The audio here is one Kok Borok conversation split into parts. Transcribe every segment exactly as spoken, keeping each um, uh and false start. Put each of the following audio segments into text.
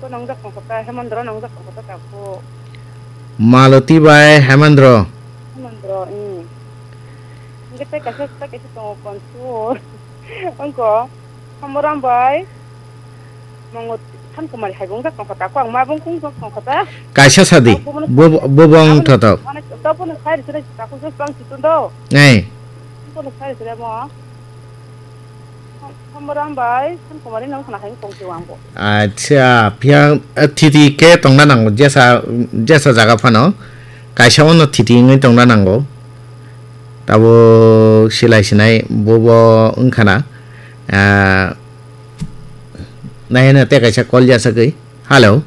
Ko nongjak tongkha ta, Hemendra nongjak tongkha ta, takhuk. Maloti bai Hemendra. Hemendra, hmm. Hingke tei kaisa, tei kaisa tongo Konsur. Wngkha Samuram bai Mongoti, Sankumari hai bo wngjak tongkha ta, ko ang ma bo wng wngjak tongkha ta. Kaisa sadi, ang bo bono bo, bo, bo wng abono thotok. Mane, to bono sai rwchwnai, takhuk se bang si tun do. Ei. Bono sai rwchwnai mo. Sambaram bai Sankumari nang khna hai kong se wang bo. Acha, phiya, eh, thiti khe tongna nango, jesa, jesa jaga phano. Kaisa ono thiti wngwi tongna nango. Tabo silai sinai bo bo wngkhana. Ah, nai hwnwi tei kaisa call jasagwi. Hello.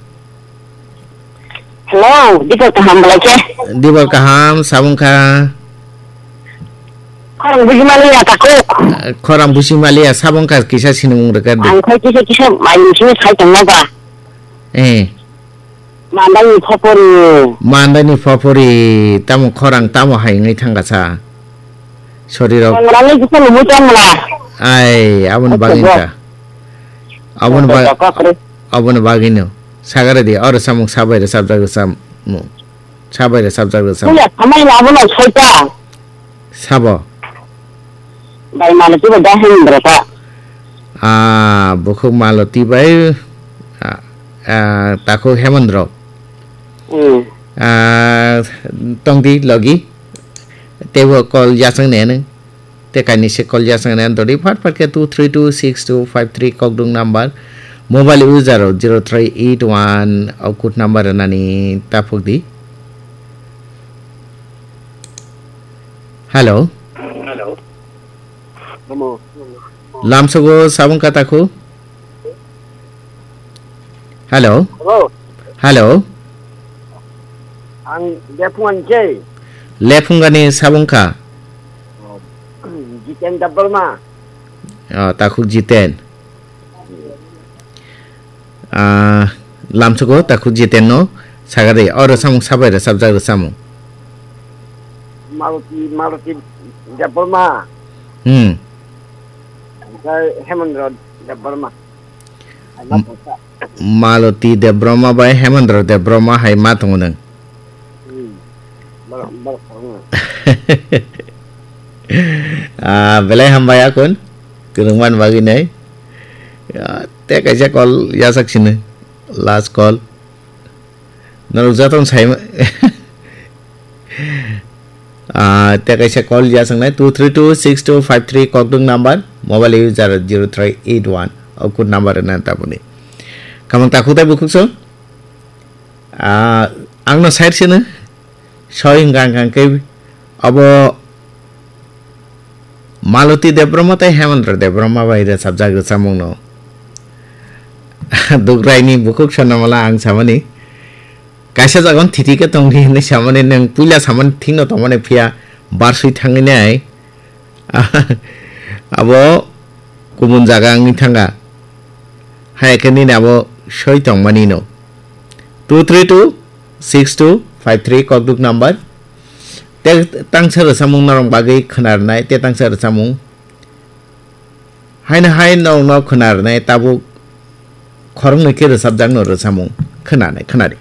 Hello, Dipal kaham belai khe? Dipal kaham, sabung kha? Khorang buji maliya takhuk. Khorang buji maliya, sabung kha kisa sinimung rwkha di. Ang khai kisa kisa mai sini sai tongma ba. Eh. Mandani phopori. Mandani phopori, tamo khorang tamo hai wngwi thangkha sa. Sorry rok. Ang rani kisa lumu tongla. Ai, aboni bagwi wngkha. Aboni ba-, aboni bagwino. Sagare di, oro samung sabai rwchapjak rwchapmung. Sabai rwchapjak rwchapmung. Puya samai abono soita. Sabo. Bai Maloti bai da Hemendra ta. Ah, bukhuk Maloti bai, ah, ah, takhuk Hemendra. Hmm. Ah, tongdi logi. Teibo call jasang nene. Te kainwi se call jasang nene. Dori phat phat khe two three two six two five three kokdung number. Mobile user rok zero three eight one o code number rwnani taphuk di. Hello. Hello. Hello. Lamsogo sabung kataku. Hello. Hello. Hello. Ang Lephungan je. Lephungani sabung kha. Jiten Debbarma. Oh, takhuk Jiten. Ah, lamsugo takhuk Jiten no sagade, oro samung sabai rwchapjak rwchapmung. Maruti, Maruti Debbarma. Hmm. Onkhe Hemendra Debbarma. Hai ma M-, tongsa. Maruti Debbarma bai Hemendra Debbarma hai ma tongo nwng. Hmm. Borok, borok tongo. Ah, belai hambai akun. Kwrwngmani bagwi nai. Ah, tei kaisa call yasak sini. Last call. Norok jotono sai ma-, ah, tei kaisa call ya swngnai two three two six two five three kokdwng number, mobile user zero three eight one, o code number rwna taboni. Kamang takhuk tei bukhuk song, ah, angno side sino, soi hwnkha hwnkha khe abo Maloti Debbarma tei Hemendra Debbarma bai rwchapjak rwchapmungno. Dugraini bukhuk Swarnamala ang samani. Kaisa jaga thiti khe tongdi hinwi samani, nwng puila samani thikno tongmani phiya barsui thangwi nai. Abo kubun jaga wngwi thangkha. Hai khe nini abo soi tongmani no. Two three two six two five three kokdwk number. Tei tangsa rwchapmung norok bagwi khwnarnai, tei tangsa rwchapmung. Haino hai norokno khwnarnai, tabuk khoroknwi khe rwchapjakno rwchapmung khwnanai, khwnadi.